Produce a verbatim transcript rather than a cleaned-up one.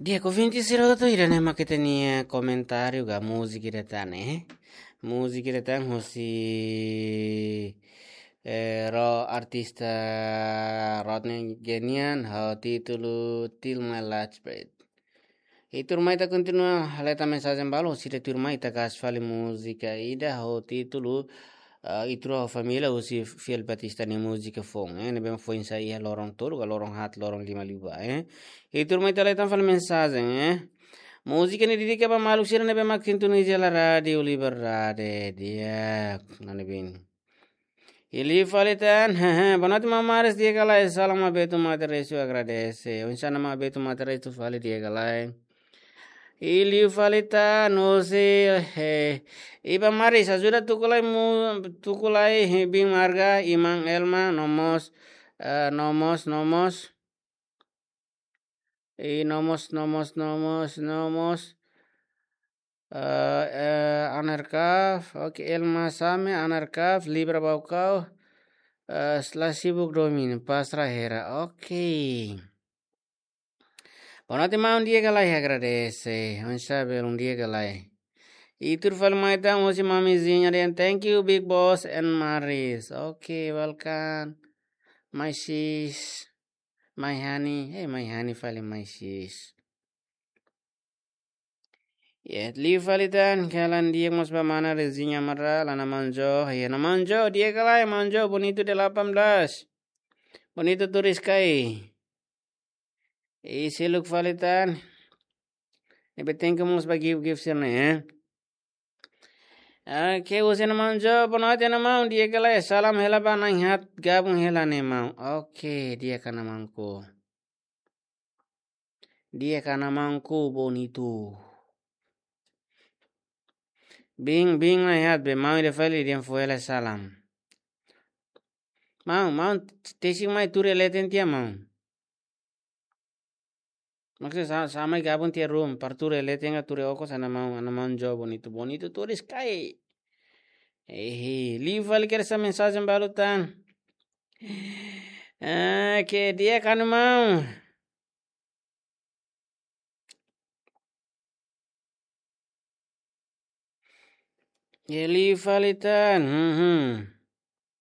Di'ak, ouvinte sira hotu, ida-ne'e mak ita-nia komentáriu ka múzika ida tan, eh? Múzika ida tan husi, eh, ro-, artista Rodney Genian, ho títulu Till My Last Breath. I tuirmai ita kontinua hetan mensajen balu, sira tuirmai ita kaas fali múzika ida ho títulu, ah, Ita Rua Família, husi Fiel Batista nia múzika foun, eh, ne'ebé foin sai iha loron tolu ka loron haat, loron lima liubá, eh. I tuirmai ita hetan fali mensajen, eh. Múzika ne'e dedika ba maluk sira ne'ebé mak sintoniza hela Rádiu Liberdade, di'ak, mane bin. I liu fali tan, hehe, boa noite maun Maris, di'ak ka lae, salam Abertu Mataresu, agradese. Oinsá maun Abertu Mataresu fali, di'ak ka lae. I liu fali tan, husi, eh, Iba Maris, ajuda tuku lai mu-, tuku lai, eh, Bin Marga, Iman Elma, no mós, eh, no mós, no mós. I no mós, no mós, no mós, no mós. Eh, eh, Anerkaf, oke, Elma Same, Anerkaf, Libra Baucau, eh, la sibuk domin, pastra hera, oke. Boa noite maun, di'ak ka lae, agradese, oinsá belun, di'ak ka lae. I tuir fali mai tan, husi mamizinha dehan, thank you, Big Boss and Maris. Oke, welcome. My sis. My honey, hey, my honey fali, my sis. Ya, liu fali tan, kalan di'ak mós ba mana Rezinha Amaral, Ana Manjo, ya, Ana Manjo, di'ak ka lae, Manjo, Bonito delapan belas. Bonito turis kai. I seluk fali tan. Ne'ebé thank you mós ba gift, gift sira-ne'e, eh. Oke, husi Ana Manjo, boa noite Ana Maun, di'ak ka lae, salam hela ba na'in haat gabung hela ne'e maun. Oke, di'ak Ana Maunku. Di'ak Ana Maunku, Bonito. Bin, bin na'in haat be maun ida fali dehan fó hela salam. Maun, maun, tesik mai tuur iha leten tiha maun. Maksudnya sa-, sa'e mai gabung tiha room, para tuur iha leten ka tuur iha okos, Ana Maun, Ana Manjo, Bonito, Bonito turis kai. Eh, liu fali kedas mensajen balu tan. Ah, ke di'ak Ana Maun. Ya, liu fali tan. Hmm, hmm.